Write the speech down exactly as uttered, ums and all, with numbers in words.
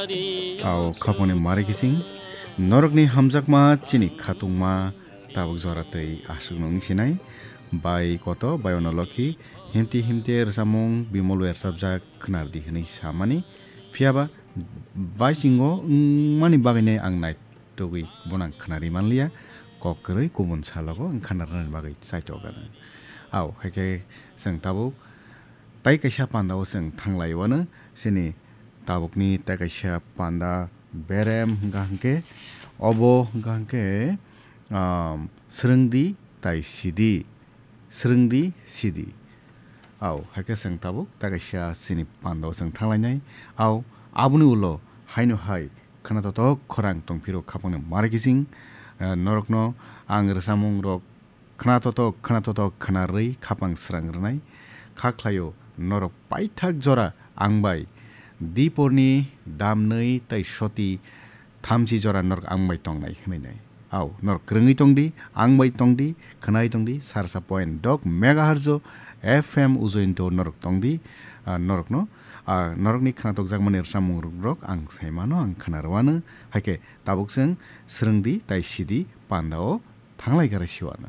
Au khaponi mari kising, norokni hamjakma chini khatungma tabuk jora tei aswk nung sinai, bai koto, bai ono lokhi, himti himte rwchapmung bimol bai rwchapjak khwnardi hwnwi samani, phiyaba baisingo wngmani bagwinai ang naitugwi bono ang khwnarwi manliya, kok kwrwi kubun salogo ang khwnarnani bagwi chaitokgano. Au, hai khe chwng tabuk tai kaisa pandao chwng thanglaiwano, chini tabukni tai kaisa panda berem hwnkha hwnkhe, obo hwnkha hwnkhe, um, swrwngdi tai sidi, swrwngdi sidi. Au, hai khe chwng tabuk tai kaisa chini pandao chwng thanglainai. Au, aboni ulo haino hai khwnatotok khorang tongphiro khapangni mari kising, eh, norokno ang rwchapmungrok khwnatotok, khwnatotok khwnarwi khapang srang rwnai. Kha khlaio norok paithak jora ang bai diporni damnwi tai soti thamchi jora norok ang bai tongnai hwnwi nai. Au, norok kwrwngwi tongdi, ang bai tongdi, khwnai tongdi, sarsa point dok megahertz o F M ujointo norok tongdi, ah, norokno, ah, norokni khwnatokjakmani rwchapmungrok ang saimano, ang khwnarwano, hai khe tabuk chwng swrwngdi tai sidi pandao thanglai gari siwano.